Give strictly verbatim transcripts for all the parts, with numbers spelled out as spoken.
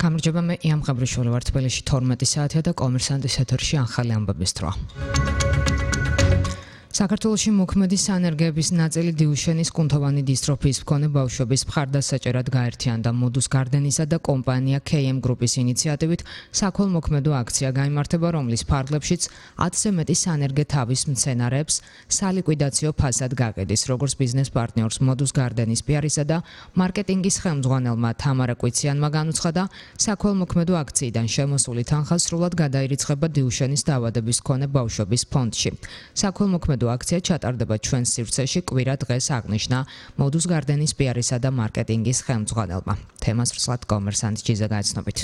გამარჯობა, მე იამ ღაბრიშვილი ვარ, თბილისში თორმეტი საათია და კომერსანტის ეთერში ახალი ამბების დრო. საქართველოში მოქმედი სანერგეების ნაწილი დიუშენის კუნთოვანი დისტროფიის მქონე ბავშვების მხარდასაჭერად გაერთიანდა მოდუს გარდენისა და კომპანია ქეი ემ გრუპის ინიციატივით საქველმოქმედო აქცია გაიმართება, რომლის ფარგლებშიც ათზე მეტი სანერგე თავის მცენარეებს სალიკვიდაციო ფასად გაყიდის, როგორც ბიზნეს პარტნიორს მოდუს გარდენის პიარისა და მარკეტინგის ხელმძღვანელმა თამარა კვიციანმა განუცხადა, საქველმოქმედო აქციიდან შემოსული თანხა სრულად გადაირიცხება დიუშენის დაავადების მქონე ბავშვების ფონდში. საქველმოქმედო აქცია ჩატარდება ჩვენს სივრცეში კვირა დღეს, აღნიშნა მოდუს გარდენის პიარისა და მარკეტინგის ხელმძღვანელმა. თემას ვრცლად კომერსანტ ჯიზა გაეცნობით.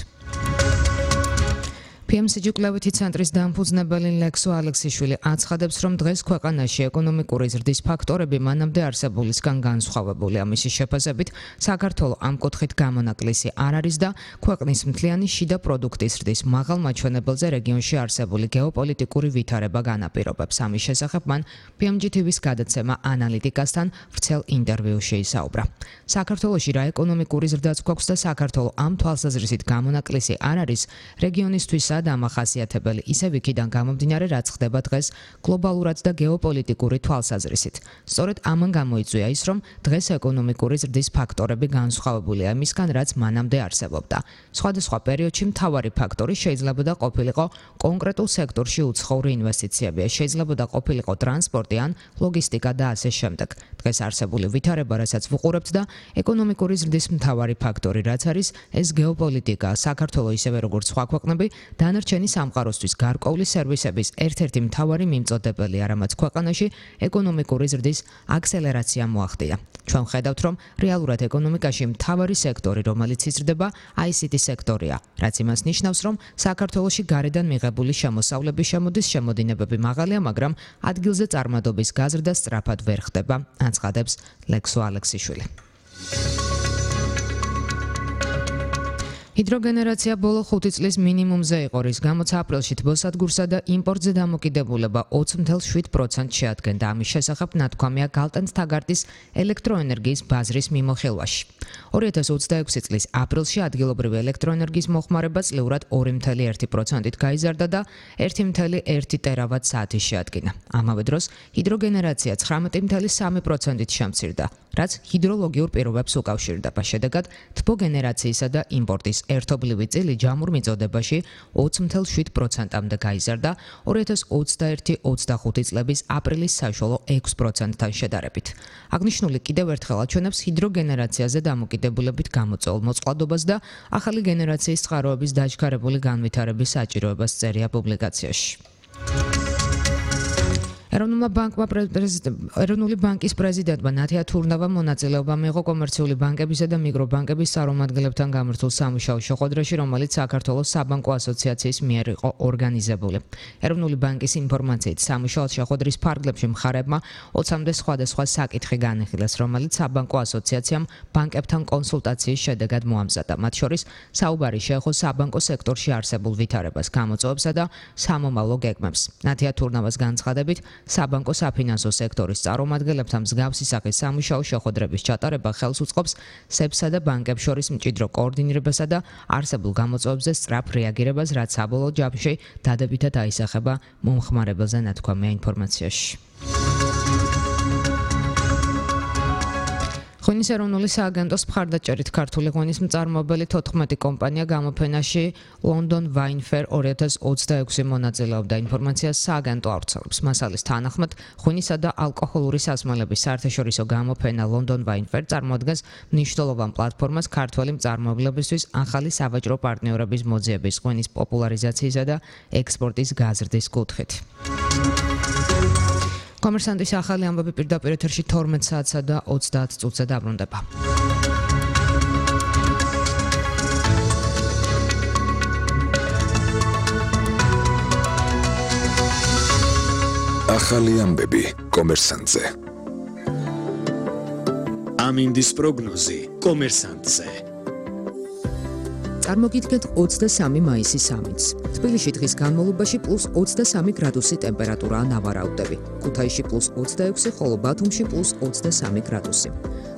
პი ემ სი ჯი კვლევითი ცენტრის დამფუძნებელი ლექსო ალექსიშვილი აცხადებს, რომ დღეს ქვეყანაში ეკონომიკური ზრდის ფაქტორები მანამდე არსებულისგან განსხვავებულია. მისი შეფასებით, საქართველო ამ კუთხით გამონაკლისი არ არის და ქვეყნის მთლიანი შიდა პროდუქტის ზრდის მაღალ მაჩვენებელზე რეგიონში არსებული გეოპოლიტიკური ვითარება განაპირობებს. ამის შესახებ მან პი ემ ჯი თი ვის გადაცემა ანალიტიკასთან ვრცელ ინტერვიუში ისაუბრა. საქართველოში რა ეკონომიკური ზრდაც გვაქვს და საქართველო ამ თვალსაზრისით გამონაკლისი არ არის რეგიონისთვის დამახასიათებელი ისევ იქიდან გამომდინარე, რაც ხდება დღეს გლობალურად და გეოპოლიტიკური თვალსაზრისით. სწორედ ამან გამოიწვია ის, რომ დღეს ეკონომიკური ზრდის ფაქტორები განსხვავებულია იმისგან, რაც მანამდე არსებობდა. სხვადასხვა პერიოდში მთავარი ფაქტორი შეიძლება და ყოფილიყო კონკრეტულ სექტორში უცხოური ინვესტიციები, შეიძლება და ყოფილიყო ტრანსპორტი ან ლოგისტიკა და ასე შემდეგ. დღეს არსებული ვითარება, რასაც ვუყურებთ და ეკონომიკური ზრდის მთავარი ფაქტორი, რაც არის, ეს გეოპოლიტიკა. საქართველო ისევე როგორც სხვა ქვეყნები დანარჩენი სამყაროსთვის გარკვეული სერვისების ერთ-ერთი მთავარი მიმწოდებელია, რამაც ქვეყანაში ეკონომიკური ზრდის აქსელერაცია მოახდინა. ჩვენ ვხედავთ, რომ რეალურად ეკონომიკაში მთავარი სექტორი, რომელიც იზრდება, აი სი ტი სექტორია, რაც იმას ნიშნავს, რომ საქართველოში გარედან მიღებული შემოსავლების შემოდის შემოდინებები მაღალია, მაგრამ ადგილზე წარმადობის გაზრდა სწრაფად ვერ ხდება, აცხადებს ლექსო ალექსიშვილი. ჰიდროგენერაცია ბოლო ხუთი წლის მინიმუმზე იყო, რის გამოც აპრილში თბოსადგურსა და იმპორტზე დამოკიდებულება ოცი ათეული შვიდ პროცენტს შეადგენდა. ამის შესახებ ნათქვამია გალტენსტაგარტის ელექტროენერგიის ბაზრის მიმოხილვაში. ორი ათას ოცდაექვსი წლის აპრილში ადგილობრივი ელექტროენერგიის მოხმარება წლიურად ორი ათეული ერთი პროცენტით გაიზარდა და ერთი ათეული ერთი ტერავატ საათი შეადგინა. ამავე დროს ჰიდროგენერაცია ცხრამეტი ათეული სამი პროცენტით შემცირდა, რაც ჰიდროლოგიურ პირობებს უკავშირდება. შედეგად, თბოგენერაციისა და იმპორტის ერთობლივი წილი ჯამურ მიწოდებაში ოცი ათეული შვიდ პროცენტამდე გაიზარდა ორი ათას ოცდაერთი ოცდახუთი წლების აპრილის საშუალო ექვსი პროცენტთან შედარებით. აღნიშნული კიდევ ერთხელ აჩვენებს ჰიდროგენერაციაზე დამოკიდებულებით გამოწვეულ მოწყვლადობას და ახალი გენერაციის წყაროების დაჩქარებული განვითარების საჭიროებას წერია პუბლიკაციაში. ეროვნულმა ბანკმა ეროვნული ბანკის პრეზიდენტმა ნათია თურნავამ მონაწილეობა მიიღო კომერციული ბანკებისა და მიკრობანკების წარმომადგენლებთან გამართულ სამუშაო შეხვედრაში, რომელიც საქართველოს საბანკო ასოციაციის მიერ იყო ორგანიზებული. ეროვნული ბანკის ინფორმაციით, სამუშაო შეხვედრის ფარგლებში მხარებმა ოცამდე სხვადასხვა საკითხი განიხილეს, რომელიც საბანკო ასოციაციამ ბანკებთან კონსულტაციის შედეგად მოამზადა. მათ შორის საუბარი შეეხო საბანკო სექტორში არსებულ ვითარებას, გამოწვევებსა და სამომავლო გეგმებს. ნათია თურნავას განცხადებით, საბანკო საფინანსო სექტორის წარმომადგენლებთან მსგავსი სახის სამუშაო შეხვედრების ჩატარება ხელს უწყობს სებსა და ბანკებს შორის მჭიდრო კოორდინირებასა და არსებულ გამოწვევებზე სწრაფ რეაგირებას, რაც საბოლოო ჯამში დადებითად აისახება მომხმარებელზე, ნათქვამია ინფორმაციაში. ღვინის ეროვნული სააგენტოს მხარდაჭერით ქართული ღვინის მწარმოებელი თოთხმეტი კომპანია გამოფენაში London Wine Fair ორი ათას ოცდაექვსი მონაწილეობდა. ინფორმაციას სააგენტო ავრცელებს. მასალის თანახმად, ღვინისა და ალკოჰოლური სასმელების საერთაშორისო გამოფენა London Wine Fair წარმოადგენს მნიშვნელოვან პლატფორმას ქართველი მწარმოებლებისთვის ახალი სავაჭრო პარტნიორების მოძიების, ღვინის პოპულარიზაციისა და ექსპორტის გაზრდის კუთხით. კომერსანტის ახალი ამბები პირდაპირ ეთერში თორმეტ საათსა და ოცდაათ წუთზე დაბრუნდება. ახალი ამბები კომერსანტზე. ამინდის პროგნოზი კომერსანტზე. წარმოგიდგენთ ოცდასამი მაისის ამინდს. თბილისში დღის განმავლობაში პლუს ოცდასამი გრადუსი ტემპერატურაა ნავარაუდები. ქუთაისში პლუს ოცდაექვსი, ხოლო ბათუმში პლუს ოცდასამი გრადუსი.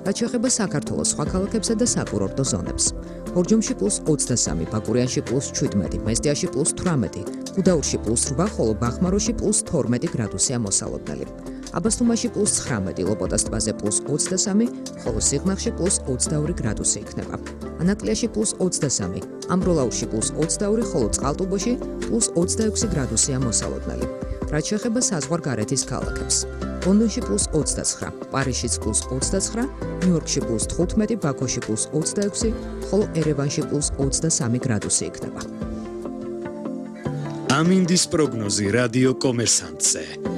რაც შეეხება საქართველოს სხვა ქალაქებსა და საკურორტო ზონებს. ბორჯომში პლუს ოცდასამი, ბაკურიანში პლუს შვიდმეტი, მესტიაში პლუს თვრამეტი, გუდაურში პლუს რვა, ხოლო ბახმაროში პლუს თორმეტი გრადუსია მოსალოდნელი. აბასთუმაში პლუს ცხრამეტი, ლოპოტას ტბაზე პლუს ოცდასამი, ხოლო სიღნაღში პლუს ოცდაორი გრადუსი იქნება. ანაკლიაში პლუს ოცდასამი, ამბროლაურში პლუს ოცდაორი, ხოლო წყალტუბოში პლუს ოცდაექვსი გრადუსია მოსალოდნელი. რაც შეეხება საზღვარგარეთის ქალაქებს. ლონდონში პლუს ოცდაცხრა, პარიზშიც პლუს ოცდაცხრა, ნიუ-იორკში პლუს თხუთმეტი, ბაქოში პლუს ოცდაექვსი, ხოლო ერევანში პლუს ოცდასამი გრადუსი იქნება. ამინდის პროგნოზი რადიო კომერსანტზე.